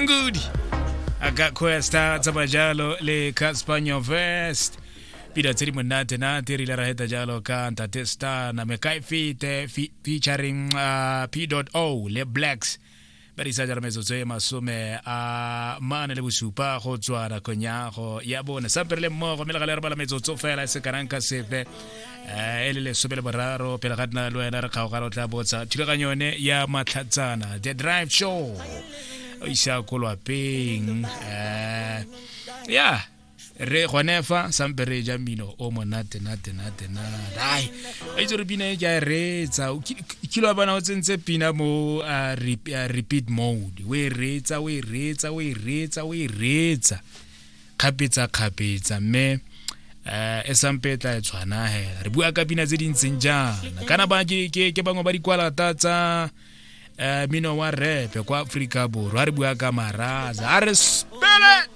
Ngudi a ka Questa tsamaya jalo le Cassper Nyovest, pina tse di monate nate. Re ile ra heta jalo ka Ntate Star na Mekae Fete featuring P O le Blacks ba di sa jalo. Metsotso e 47 go tswa nakong ya go ya bone sampe re le mmogo, mme le gale re bala metsotso fela e se kanang ka sepe e le 13 pele ga nna le wena re kgaogana. O tla botsa thulaganyo yone ya Matlhatsana The Drive Show o isa ko lwapeng. Ya re gone fa sampe re ja mmino o monate nate nate nate. Ai, a itse re pina e ke a e reetsa. O kile wa bona o tsentse pina mo repeat mode, o e reetsa, o e reetsa, o e reetsa, o e reetsa kgapetsa kgapetsa, mme e sampe e tla e tshwana hela. Re bua ka pina tse di ntseng jaana kana ba ke bangwe ba dikwalata tsa mino wa rap kwa Aforika Borwa. Re bua ka Maraza, a re spele.